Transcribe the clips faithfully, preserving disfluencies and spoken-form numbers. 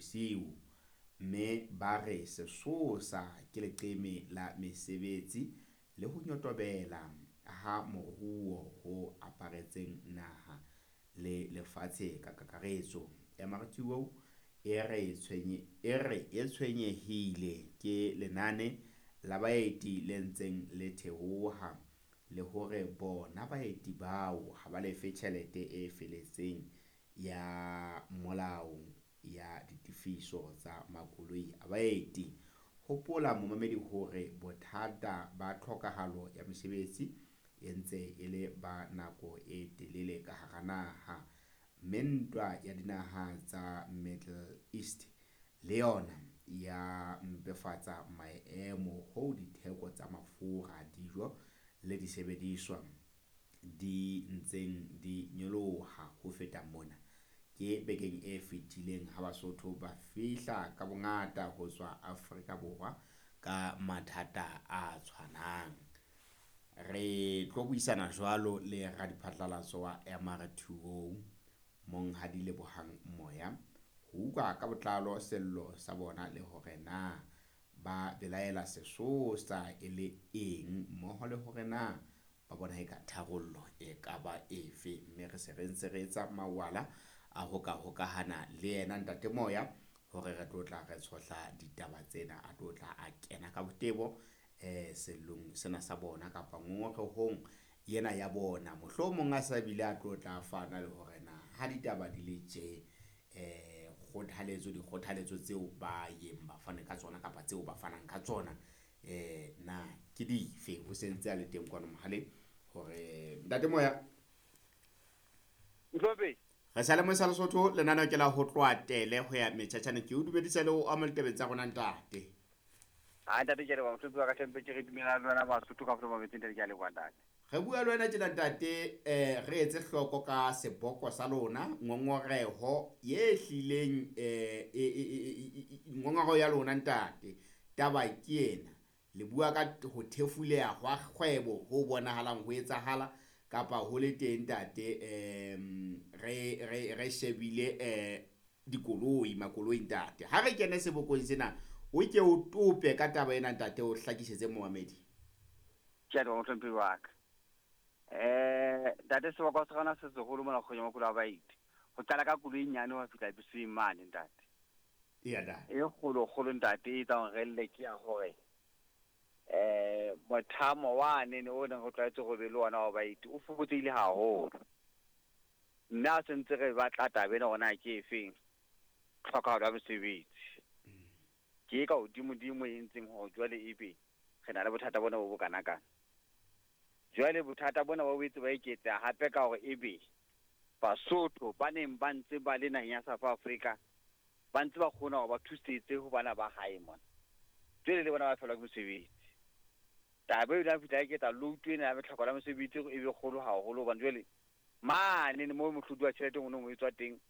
Seetebosiu, mme ba re sesosa ke leqeme la mesebetsi le ho nyotobela ha moruo ho aparetseng naha le lefatshe ka kakaretso. M R T O e re tshwenye, e re e tshwenyehile ke lenane la baeti le ntseng le theoha, le hore bona baeti bao ha ba lefe tjhelete e feletseng ya molao ya ditefiso tsa makoloi a baeti. Hopola momamedi hore bothata ba tlhokahalo ya mesebetsi e ntse e le ba nako e telele ka hara naha, mme ntwa ya dinaha tsa Middle East le yona ya mpefatsa maemo ho ditheko tsa mafura, dijo le disebediswa di ntseng di nyoloha. Ho feta mona, ke bekeng e fetileng ha Basotho ba fihla ka bongata ho tswa Afrika Borwa ka mathata a tshwanang. Re tlo buisana jwalo le radiphatlalatso wa M R T O Monghadi Lebohang Moya ho utlwa ka botlalo sello sa bona le hore na ba belaela sesosa e le eng, mmoho le hore na ba bona e ka tharollo e ka ba efe. Mme re se re ntse re etsa mawala a ho ka hokahana le yena Ntate Moya hore re tlo tla re tshohla ditaba tsena, a tlo tla a kena ka botebo eh sellong sena sa bona kapa ngongorehong ena ya bona. Mohlomong a sa bile a tlo tla fana le hore na ha ditaba di le tje eh kgothaletso dikgothaletso tseo ba yeng ba fane ka tsona kapa tseo ba fanang ka tsona eh na ke dife. O sentse a le teng kwano mohaleng hore Ntate Moya. Ntlhope. Re sa le mosa Lesotho lenaneo ke la ho tloha tele ho ya metjhatjhane. Ke o dumedisa le o amohele tabeng tsa rona ntate. Ha ntate ke leboha mohlomphehhi wa ka Hlomphe, ke re dumela le wena Basotho ka fela metseng ntate, ke a leboha ntate. Re bua le wena tjena ntate, eh re etse hloko ka seboko sa lona, ngongoreho ye hlileng, eh, e, e, e, e, e, ngongoreho ya lona ntate. Taba ke ena, le bua ka ho thefuleha hwa kgwebo ho bonahalang ho etsahala kapa ho le teng ntate, em, re, re, re shebile, eh, dikoloi, makoloi ntate. Ha re kene sebokong sena, o ke o tope ka taba ena ntate, o hlakisetse momamedi. Ke a leboha mohlomphehhi wa ka. Eh, ntate, seboko sa rona se seholo mona kgwebo ya makoloi a baeti. Ho qala ka koloi e nyane ho fihla beseng mane ntate. Eya, ntate. E kgolo kgolo ntate, e etsang hore re lle ke ya hore, eh, mothamo wane ne o neng re tlwaetse ho be le ona wa baeti o fokotsehile haholo. Mme ha se ntse re batla taba ena hore na ke efeng, tlhokahalo ya mosebetsi. Ke e ka hodimodimo e entseng hore jwale ebe re na le bothata bona bo bokanakana. Jwale bothata bona bo boetse ba eketseha hape ka hore ebe Basotho ba neng ba ntse ba le naheng ya South Africa ba ntse ba kgona hore ba thusetse ho bana ba hae mona. Jwale le bona ba fellwa ke mosebetsi. Taba eo ya fihla eketsa load ena ya tlhoko la mosebetsi e be kgolo haholo, hobane jwale mane moo mohlodi wa tjhelete o nong o etswa teng,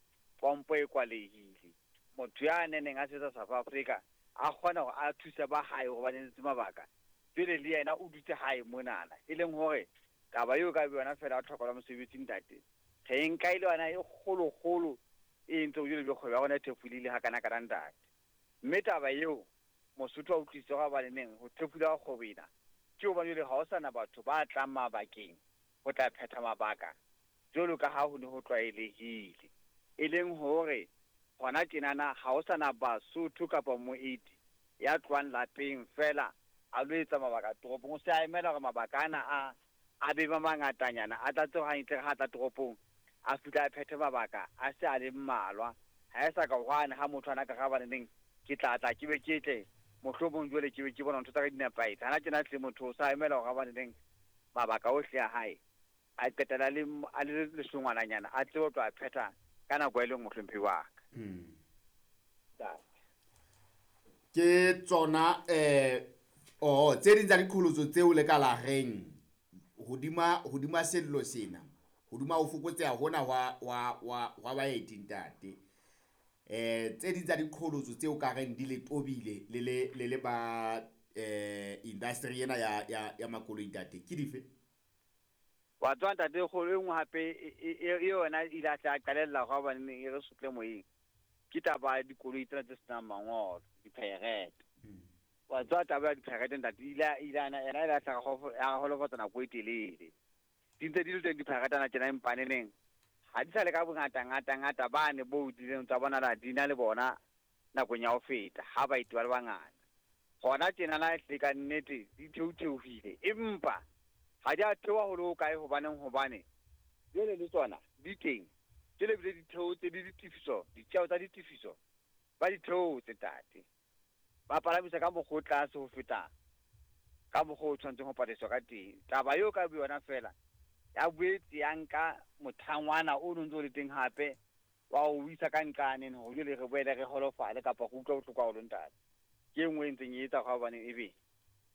pompo e kwalehile. Motho ya neneng a sebetsa South Africa a kgona hore a thuse ba hae hobane ntse mabaka. Jwale le yena o dutse hae monana, e leng hore taba eo ka yona fela tlhoko la mosebetsi ntate. Re nka ile yona e kgolo kgolo e entse hore jwale kgwebo ya rona e thefulile ha kana kana ntate. Mme taba eo Mosotho a utlwisise hore ba neng ho thefula ha kgwebo ena ke hobane jwale ha ho sana batho ba tlang mabakeng ho tla phetha mabaka jwalo ka ha ho ne ho tlwaelehile. E leng hore hona tjenana ha ho sana Basotho kapa moeti ya tlohang lapeng fela a lo etsa mabaka toropong. O se a emela hore mabaka ana a, a be ba mangatanyana, a tlatse hantle ha tla toropong, a fihla a phethe mabaka a se a le mmalwa. Ha e sa ka hwane ha motho ana ka ga bane neng ke tla tla ke be ke tle mohlomong jwale ke be ke bona ntho tsa ka di nepahetse. Hana tjena hle motho o sa emela hore a bane neng mabaka ohle a hae a qetela le m-, a le lesongwananyana a tsebe ho tlo a phetha ka nako e leng mohlomphehi wa ka. Hmm. Ntate. Ke tsona, eh, oh, tse ding tsa diqholotso tseo le ka la reng hodima, hodima sello sena, hodima ho fokotseha hona hwa, hwa, hwa, hwa baeti ntate. Eh, tse ding tsa diqholotso tseo ka reng di le tobile le le, le le ba, eh, industry ena ya, ya, ya makoloi ntate, ke dife? Wa tswa ntate, kgolo e nngwe hape e, e, e, e yona e ile a tla qalella hore hobane e re sotle moyeng. Ke taba ya dikoloi tsena tse senang mangolo, di-pirate. Wa tswa taba ya di-pirate ntate, ile ile ana ena ile ya holofatsa nako e telele. Di ntse di le teng di-pirate ana tjena empaneneng. Ha di sa le ka bongata ngata ngata bane bo dileng tsa bona la dina le bona nakong ya ho feta ha baeti ba le bangata. Hona tjena na hle ka nnete di theotheohile, empa ha di a theoha ho le hokae hobaneng hobane jwale le tsona di teng. Jwale bile di theotse le ditefiso, ditjeo tsa ditefiso ba di theotse ntate. Ba palamisa ka mokgwa o tlase ho feta ka mokgwa o tshwanetseng ho patadiswa ka teng. Taba eo ka boyona feela ya boetse ya nka mothangwana o no ntso le teng hape wa o isa ka nqane hore jwale re boele re holofale kapa go utlwa bohloko haholo ntate. Ke e nngwe e ntseng e etsa hore hobane ebe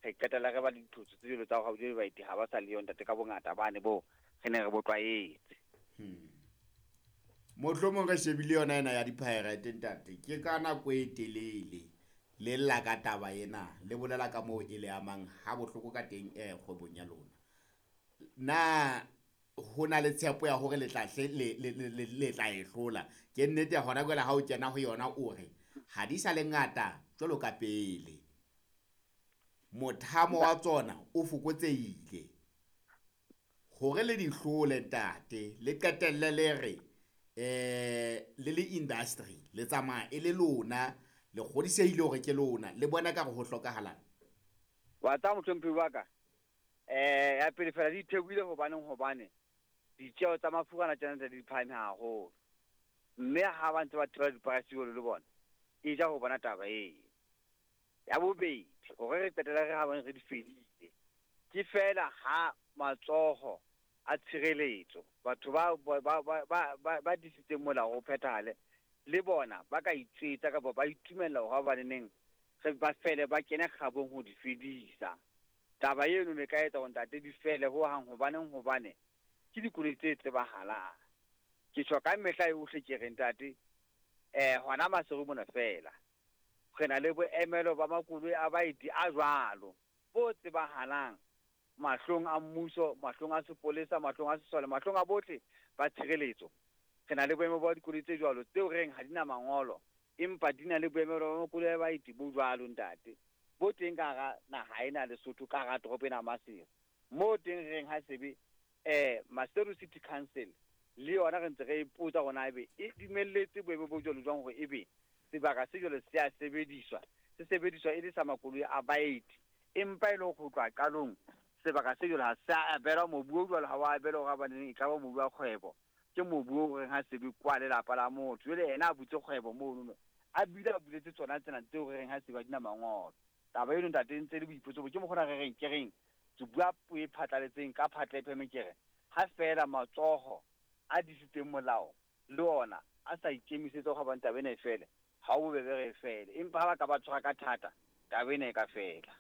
re qetella re ba le dithotso tse jwalo tsa hore jwale baeti ha ba sa le yo ntate ka bongata bane bo re ne re bo tlwaetse. Hmm. Mohlomong re shebile yona ena ya di-pirate ntate, ke ka nako e telele le lla ka taba ena, le bolela ka moo e le amang ha bohloko ka teng eh kgwebong ya lona. Na ho na le tshepo ya hore le tla hle le le le le tla e hlola? Ke nnete ya hona jwale ha o kena ho yona o re ha di sa le ngata jwalo ka pele, mothamo wa tsona o fokotsehile. Hore le di hlole ntate, le qetelle le re eh le le industry le tsamaya e le lona, le kgodisehile hore ke lona, le bona ka re ho hlokahalang. Wa tsa mohlomphehi wa ka, eh ya pele fela di theohile hobaneng hobane ditjeo tsa mafura ana tjena tse di phahame haholo, mme ha ba ntse ba theola di-price jwalo le bona e ja ho bona taba eo. Ya bobedi, hore re qetelle re ha bane re di fedile, ke fela ha matsoho a tshireletso batho ba ba ba ba ba ba disitseng molao ho phethahale le bona ba ka itswetsa kapa ba itumella hore ba baneneng re ba fele ba kene kgabong ho di fedisa. Taba eno ne ka etsa hore ntate di fele ho hang hobaneng hobane ke dikoloi tse tsebahalang. Ke tjho ka mehla yohle ke re ntate, eh hona Maseru mona fela re na le boemelo ba makoloi a baeti a jwalo bo tsebahalang mahlong a mmuso, mahlong a sepolesa, mahlong a sesole, mahlong a bohle ba tshireletso. Re na le boemo ba dikoloi tse jwalo tseo reng ha di na mangolo, empa di na le boemelo ba makoloi a baeti bo jwalo ntate, bo teng ka hara naha ena Lesotho, ka hara toropo ena Maseru. Moo teng reng ha sebe eh Maseru City Council le yona re ntse re ipotsa hore na ebe e dumelletse boemo bo jwalo jwang hore ebe sebaka se jwalo se a sebediswa, se sebediswa e le sa makoloi a baeti, empa e le ho tloha qalong sebaka se jwalo ha se a abelwa mobu o jwalo, ha wa abelwa hore hobaneng e ka ba mobu wa kgwebo, ke mobu o reng ha sebe kwa lelapa la motho. Jwale yena a butse kgwebo mono, a bile a buletse tsona tsena tseo re reng ha sebe di na mangolo. Taba eno ntate ntse le boipotso bo ke mokgona re reng ke reng ke bua puo e phatlaletseng ka phatla e pheme ke re ha fela matsoho a disitseng molao le ona a sa ikemisetsa hore hobane taba ena e fele, ha o bobebe re e fele, empa ha ba ka ba tshwara ka thata taba ena e ka fela.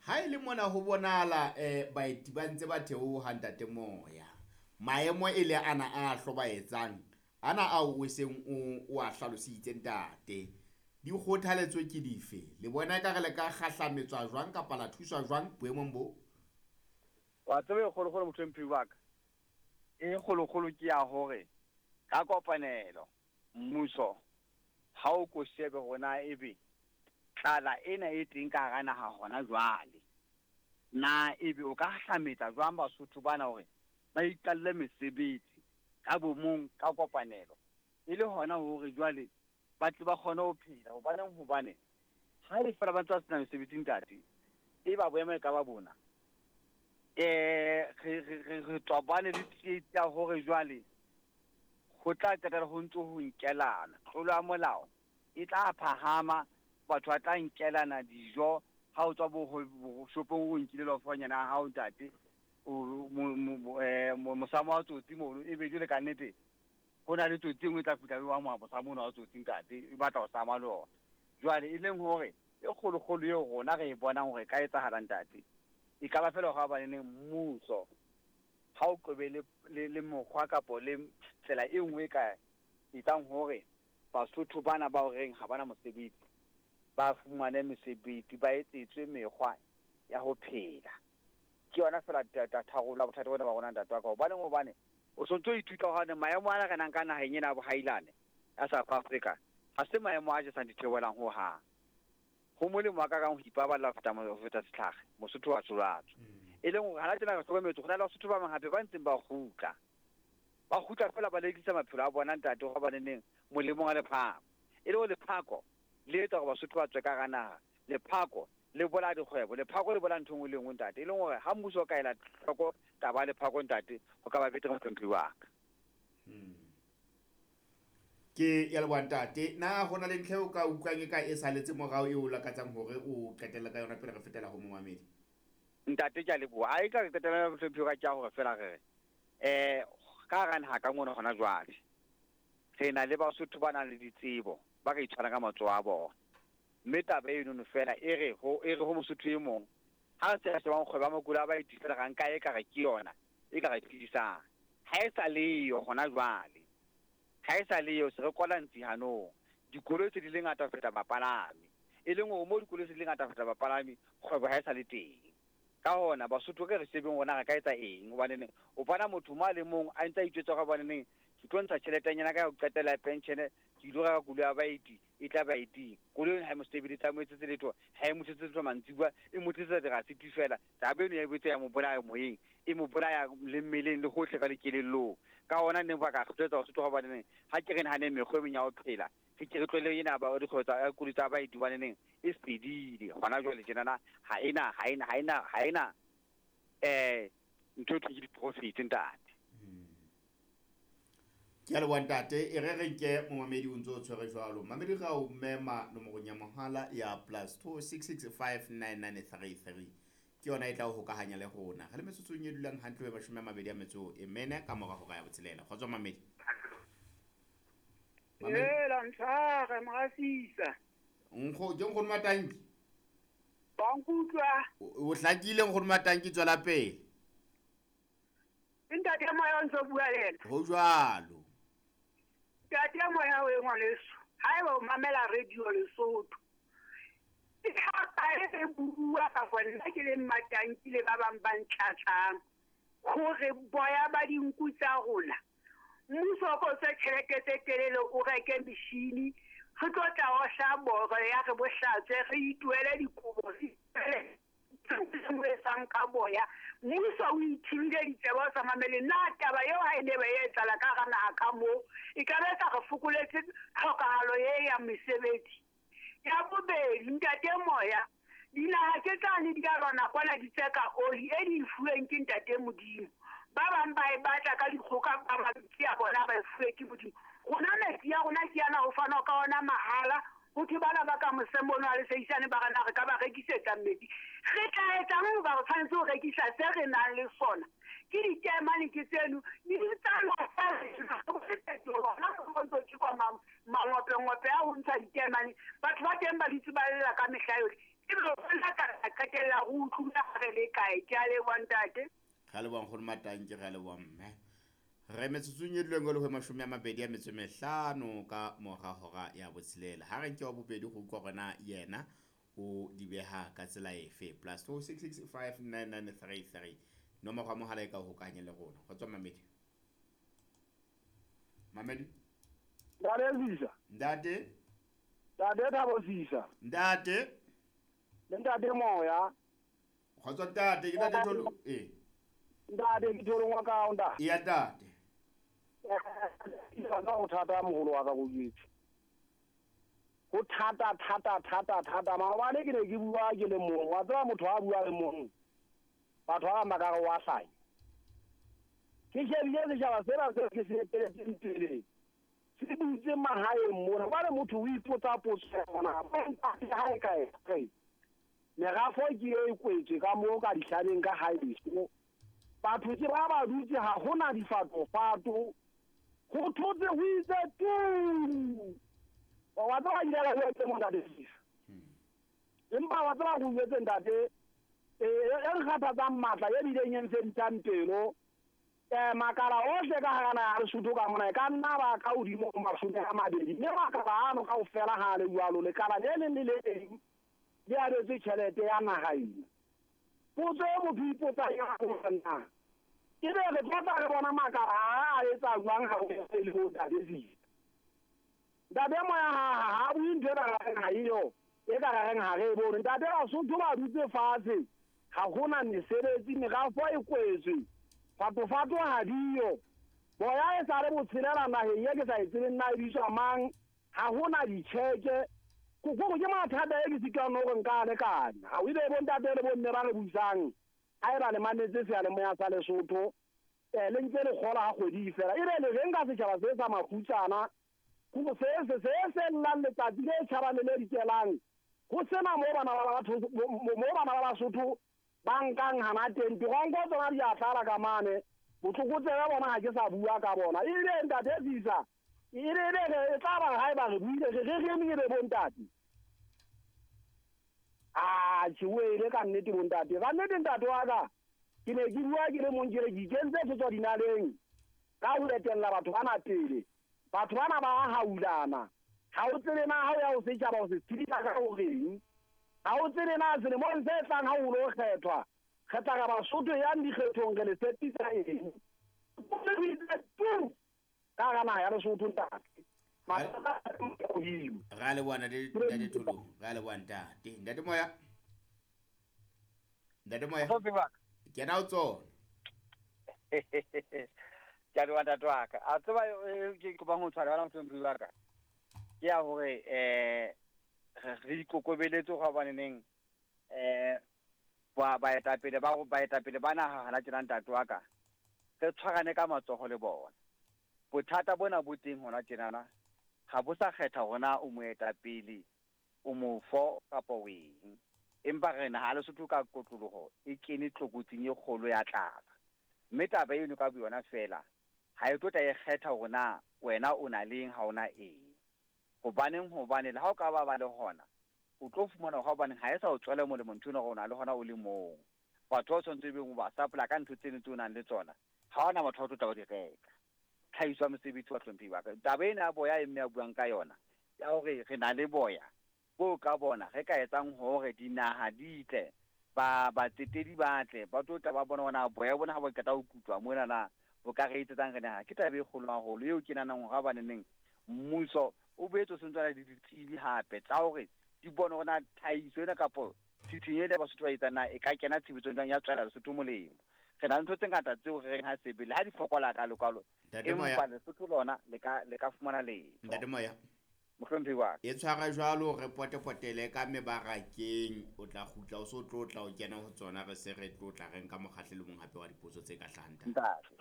Ha e le mona ho bonahala eh baeti ba ntse ba theoha ntate Moya, maemo e le ana a hlobaetsang ana ao o seng o o a hlalositse ntate, dikgothaletso ke dife? Le bona ekare le ka kgahlametswa jwang kapa la thuswa jwang boemong bo? Wa tseba e kgolokgolo mohlomphehi wa ka, e kgolokgolo ke ya hore ka kopanelo mmuso ha o ko shebe hore na ebe tlala ena e teng ka hara naha hona jwale, na ebe o ka hlametsa jwang Basotho bana hore ba iqalle mesebetsi ka bomong ka kopanelo, e le hona hore jwale ba tle ba kgone ho phela. Hobaneng hobane ha e fela ba ntse ba sena mesebetsi ntate, e ba boemo e ka ba bona eh re re re tobane le tsietsi ya hore jwale ho tla qetella ho ntso ho nkelana, tlolo ya molao e tla phahama, batho ba tla nkelana dijo. Ha o tswa bo shopong o nkile lofonyana ya hao ntate, o mosamo wa tsotsi mono, ebe jwale ka nnete ho na le tsotsi e nngwe e tla fihla e wa mosamo ona wa tsotsi ntate, e batla ho sama le ona. Jwale e leng hore e kgolokgolo eo rona re e bonang hore e ka etsahala ntate, e ka ba fela hore hobaneng mmuso ha o qobe le le mokgwa kapo le tsela e nngwe e ka etsang hore Basotho bana ba horeng ha bana mosebetsi ba fumane mesebetsi, ba etsetswe mekgwa ya ho phela. Ke yona fela tharollo ya bothata bona ba rona ntate wa ka. Hobaneng hobane o sontso o ithuta hore maemo ana re nang ka naheng ena ya bohailane ya South Africa Ha se maemo a jesang ditheohelang ho hang. Ho molemo wa ka kang ho ipaballa ho feta ho feta setlhare, Mosotho wa tsholatso. E leng hore hana tjena re hlokometse ho na le Basotho ba bang hape ba ntseng ba kgutla. Ba kgutla feela ba lekisa maphelo a bona ntate hore ba neneng molemong wa lephako. E le hore lephako le etsa hore Basotho ba tswe ka hara naha. Lephako le bolaya dikgwebo, lephako le bolaya ntho e nngwe le e nngwe ntate. E leng hore ha mmuso o ka ela hloko taba ya lephako ntate, ho ka ba betere mohlomphehi wa ka. Ke ya leboha ntate. Na ho na le ntlha eo ka utlwang e ka e saletse morao eo o lakatsang hore o qetelle ka yona pele re fetela ho momamedi? Ntate ke a leboha. Ha e ka re qetella mohlomphehi wa ka ke ya hore feela re re eh ka hara naha ka mona hona jwale re na le Basotho ba nang le ditsebo ba ka itshwarang ka matsoho a bona. Mme taba enono feela e re ho e re ho Mosotho e mong ha re se re shebang kgwebo ya makoloi a baeti feela ra nka e ka re ke yona e ka re phedisang. Ha e sa leyo hona jwale. Ha e sa leyo se re kwala ntsi hanong. Dikoloi tse di le ngata ho feta bapalami. E leng hore mo dikoloi tse di le ngata ho feta bapalami kgwebo ha e sa le teng. Ka hona Basotho ke re shebeng hore na re ka etsa eng hobane o bona motho mo a le mong a ntse a itjwetsa hore hobaneneng ke tlo ntsha tjheletenyana ka ho qetela ya pension ke ilo reka koloi ya baeti e tla baeting. Koloi eno ha e mo sebeletse, ha e mo etsetse letho, ha e mo tlisetse letho mantsibuya, e mo tlisetsa dirasiti feela. Taba eno ya boetse ya mo bolaya moyeng, e mo bolaya le mmeleng le hohle ka dikelellong. Ka hona neng ba ka kgothaletsa Basotho hobaneneng ha ke re nahaneng mekgwa e meng ya ho phela, re ke re tlohele ena ba dikgwebo tsa koloi tsa baeti hobaneneng e fedile hona jwale tjenana ha ena ha ena ha ena ha ena eh ntho e thweng ke di-profit ntate. Ke a leboha ntate. E re re nke momamedi o ntso o tshwere jwalo. Mamedi ra o mema nomorong ya mohala ya plus two six six five nine nine three three. Ke yona e tla o hokahanya le rona. Re le metsotsong e dulang hantle ho mashome a mabedi a metso e mene ka mora hora ya botshelela. Kgotso mamedi. Mamedi. Hela ntshware morasisa. Nkgo ke nkgono Matanki. Ba nkutlwa. O hlakile nkgono Matanki, tswela pele. Ntate Moya o ntso bua le yena. Ho jwalo. Ntate Moya o ngwaneso, haeba o mamela radio Lesotho. Ke ha e bua ka nna ke le Matanki le ba bang ba ntlatsang hore boya ba dinku tsa rona. Mmuso o ko tswe tjhelete tse telele o reke machine, re tlo tla ohla boro ya re bohlatswe re ituele dikobo re ituele etsang ka boya. Mmuso o ithibile ditsebe o sa mamele. Na taba eo ha e ne ba e etsahala ka hara naha ka moo e ka be sa re fokoletse tlhokahalo e ya mesebetsi. Ya bobedi ntate Moya, dinaha ke tsane di ka lwana kwana di tseka oli e di fuweng ke ntate Modimo. Ba bang ba e batla ka dikgoka, ba bang ke ya bona ba e fuwe ke Modimo. Rona metsi ya rona ke yana ho fanwa ka ona mahala. Ho thwe bana ba ka mose mono ha le seisane ba re na re ka ba rekisetsa metsi. Re tla etsang hoba re tshwanetse ho rekisa se re nang le sona? Ke ditaemane ke tseno, di mangope-ngope a ho ntsha ditaemane. Batho ba teng ba dutse ba lela ka mehla yohle. Ebe rona ka qetella re utlwile ha re le kae. Ke a leboha ntate. Re a leboha nkgono Matanki, re a leboha mme. Re metsotsong e duleng le ho mashome a mabedi a metso e mehlano ka mora hora ya botshelela. Ha re nke wa bobedi go utlwa hore na yena o di beha ka tsela efe. Plus two six six five nine nine three three. Nomoro ya mohala e ka hokahanya le rona. Kgotso mamedi. Mamedi. Ntate Sisa. Ntate. Ntate Thabo Sisa. Ntate. Le ntate Moya. Kgotso ntate, ke ntate Tholo. Eh. Ntate ke Tholo ngwa ka ntate. Ya ntate. Ka ho thata moholo wa ka go jwetse. Ho thata thata thata thata maobane ke ne ke bua ke le mong. Wa tseba motho a bua le mong. Batho ba bang ba ka re wa hlanya. Ke shebile setjhaba sena seo ke se eteletseng pele. Se dutse mahaeng mona. Jwale motho o ipotsa potso ya hore na ha e kae kae. Merafo ke e kwetswe ka moo ka dihlabeng ka haeso. Batho ke ba ba dutse ha hona difatofato. Ho thotse ho itse tu. Wa tseba ile la ho etsa ntate Sisa. Empa wa tseba ho jwetse ntate e e re kgathatsang matla e bileng e mfedisang pelo. Eh makala ohle ka hara naha ya Lesotho ka mona e ka nna ba ka hodimo ho mashome a mabedi. Mme makala ano kaofela ha a le jwalo, lekala le leng le le leng le abetswe tjhelete ya naha ena. Potso e motho o ipotsang yona ke hore na ebe re tlo tla re bona makala a a etsa jwang ha ho le ho ntate Sisa. Ntate Moya ha ha bue ntho e ka reng ha eyo, e ka reng ha re e bone. Ntate Basotho ba dutse fatshe, ha hona mesebetsi, merafo e kwetswe, fatofato ha diyo. Boya e sa le botshelela naheng e ke sa e tsebeng na e bitswa mang, ha hona ditjheke. Ko ke mathata e ke sitwang hore nka a lekana. Ha o ile bontate le bomme ba re busang, ha eba le mametse seyalemoya sa Lesotho, eh le ntse le kgola ha kgwedi e fela. Ebe le reng ka setjhaba se sa makgutsana, go se se se se llang letsatsi le tjhabang le le dikelang, ho sena moo bana ba batho moo bana ba Basotho ba nkang hana teng. Dironko tsona di a tlala ka mane, botlokotsebe bona ha ke sa bua ka bona. Ebile ntate Sisa, e re e tla ba ha eba re buile re re re eme be bontate. Ah, ke wele ka nnete bontate. Ka nnete ntate wa ka, ke ne ke bua ke le mong ke re ke ikentse se tswa dinaleng ka ho etella batho bana pele. Batho bana ba haulana. Ha o tsebe na ha o ya ho setjhaba o se tshedisa ka horeng. Ha o tsebe na selemong se tlang ha o lo kgethwa, re tla ra Basotho yang dikgethong re le tshepisa eng. Ka hara naha ya Lesotho ntate. Ra leboha ntate Tholo, ra leboha ntate. Ntate Moya. Ntate Moya. Kena o tsona. Ke a leboha ntate wa ka. A tseba ke kopang ho tshwara bana mohlomphehi wa ka. Ke ya hore eh re ikokobeletse hobaneneng eh ba baetapele ba baetapele ba naha hana tjena ntate wa ka. Re tshwarane ka matsoho le bona. Bothata bona bo teng hona tjenana, ha bo sa kgetha hore na o moetapele, o mofo kapa o eng. Empa re naha Lesotho ka kotloloho e kene tlokotsing e kgolo ya tlala. Mme taba eno ka boyona fela ha e tlo tla e kgetha hore na wena o na leng ha ona eng. Hobaneng hobane le ha o ka ba ba le hona, o tlo fumana hore hobaneng ha e sa o tswela molemo ntho ena hore o na le hona o le mong. Batho ba tshwanetse ebe o ba supply ka ntho tseno tseo o nang le tsona, ha hona motho a tlo tla o di reka. Tlhahiso ya mosebetsi wa hlomphehi wa ka. Taba ena ya boya e mme a buang ka yona, ya hore re na le boya bo ka bona re ka etsang hore dinaha di tle, ba batsetedi ba tle, ba tlo tla ba bona hore na boya bona ha bo qeta ho kutwa mona na bo ka re etsetsang re naha. Ke taba e kgolo haholo eo ke nahanang hore hobaneneng mmuso o boetse o sentse o na le ditsebi hape tsa hore di bone hore na tlhahiso ena kapo tshitshinyo ena Basotho ba etsang na e ka kena tshebetsong jwang ya tswela Lesotho molemo. Re na le ntho tse ngata tseo re reng ha sebele ha di fokola ka lokalo, empa Lesotho lona le ka le ka fumana letho. Ntate Moya. Mohlomphehi wa ka. E tshwara jwalo re potepotele ka mebarakeng, o tla kgutla o so tlotla o kena ho tsona re se re tlotla re nka mokgahlelo mong hape wa dipotso tse ka hlahang. Ntate.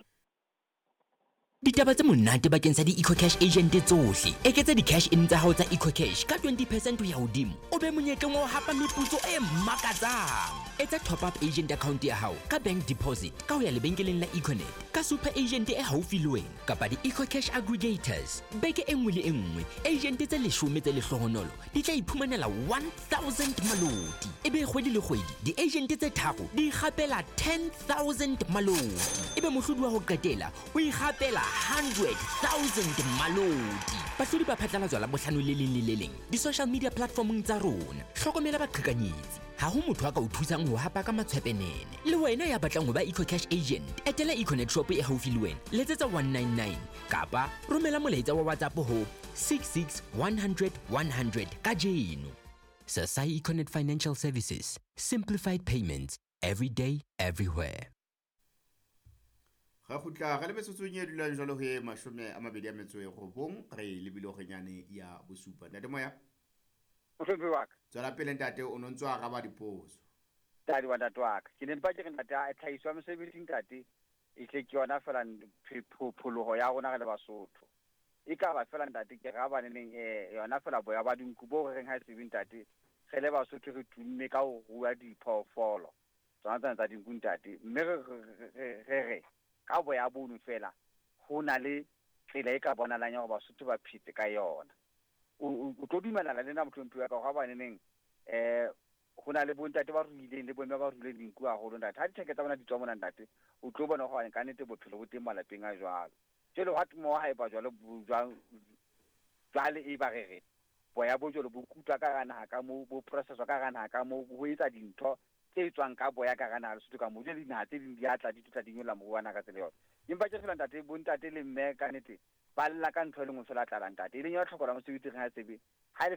Ditaba tse monate bakeng sa di-EcoCash agent tsohle. Eketsa di-cash in tsa hao tsa EcoCash ka twenty percent ho ya hodimo, o be monyetleng wa ho hapa meputso e makatsang. Etsa top up agent account ya hao ka bank deposit ka ho ya lebenkeleng la Econet, ka super agent e haufi le wena kapa di-EcoCash aggregators. Beke e nngwe le e nngwe, agent tse leshome tse lehlohonolo di tla iphumanela one thousand maloti. Ebe kgwedi le kgwedi di-agent tse tharo di ikgapela ten thousand maloti. Ebe mohlodi wa ho qetela o ikgapela hundred thousand maloti. Bahlodi ba phatlalatswa la bohlano le leng le le leng di-social media platformong tsa rona. Hlokomela baqhekanyetsi. Ha ho motho a ka o thusang ho hapa ka matshwepenene. Le wena ya batlang ho ba EcoCash agent, etela Econet shop e haufi le wena, letsetsa one nine nine kapa romela molaetsa wa WhatsApp ho six six one hundred one hundred kajeno. Sasai Econet Financial Services, simplified payments every day, everywhere. Re kgutla re le metsotsong e dulang jwalo ho e mashome a mabedi a metso e robong, re lebile horenyane ya bosupa. Ntate Moya. Mohlomphehi wa ka. Tswela pele ntate, o no ntso araba dipotso. Ntate wa ntate wa ka. Ke ne mpa ke re ntate, tlhahiso ya mosebetsi ntate, e tle ke yona fela pholoho ya rona re le Basotho. E ka ba fela ntate ke ra baneneng eh yona fela boya ba dinku bo re reng ha e sebe ntate, re le Basotho re tumme ka ho rua diphoofolo tsona tsena tsa dinku ntate. Mme re re re ka boya bono fela ho na le tsela e ka bonalang ya hore Basotho ba phetse ka yona. O tlo dumelana le nna mohlomphehi wa ka hore hobaneneng eh ho na le bontate ba ruileng le bomme ba ruileng dinku haholo ntate. Ha ditheke tsa bona di tswa mona ntate, o tlo bona hore ka nnete bophelo bo teng malapeng a jwalo. Jwale ha mo ha e ba jwalo jwang jwale e ba re re boya bo jwalo bo kutwa ka hara naha ka moo, bo processwa ka hara naha ka moo, ho etsa dintho tse tswang ka boya ka hara naha Lesotho ka moo. Jwale dinaha tse ding di a tla di tla di nyolla moruo wa naha ka tsela yona. Empa ke fela ntate, bontate le mme ka nnete Ba lla ka ntho e le nngwe fela tlala ntate. E leng ya tlhoko la mosebetsi re ha tsebe. Ha le